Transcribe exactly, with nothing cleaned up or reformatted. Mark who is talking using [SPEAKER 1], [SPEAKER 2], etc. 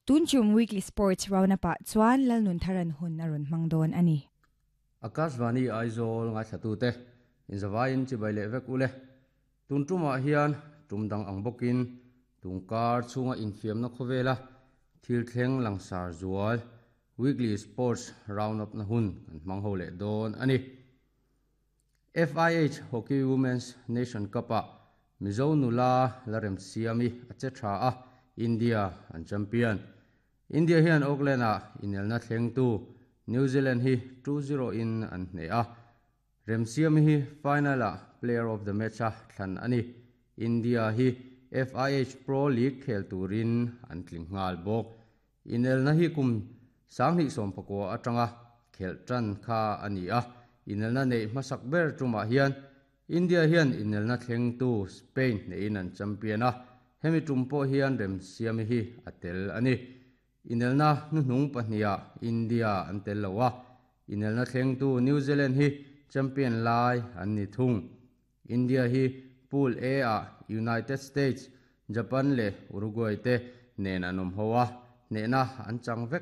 [SPEAKER 1] Tun tum weekly sports round up ah chuan Lalnuntharan hun a rawn hmang dawn a ni.
[SPEAKER 2] Akashvani Aizawl ngaithlatu te inzavain chibai leh vek ule tun tumah hian tum dang ang bawkin tungkar chhunga infiamna khawvela thil thleng langsar zual weekly sports round up na hun kan hmang ho leh dawn ani. F I H Hockey Women's Nation Cup ah Mizo nula Lalremsiami a che tha a, India an champion. India hian Auckland ah inelna thleng tu New Zealand hi two zero in an hneh a. Remsiami hi final ah player of the match a thlan ani. India hi F I H Pro League khel turin an tling nghal bawk. Inelna hi kum sanghnih sawm pakua atanga khel tan kha ani a. Inelna nei hmasak ber tumah hian India hian inelna thleng tu Spain hnehin an champion a. Hemi tum pawh hian Remsiami hi a tel ani. Inelna hnuhnung pahniha India an tel lo a. Inelna thleng tu New Zealand hi champion lai an ni thung. India hi Pool A ah United States, Japan leh Uruguay te nen an awm ho a, hnehna an chang vek.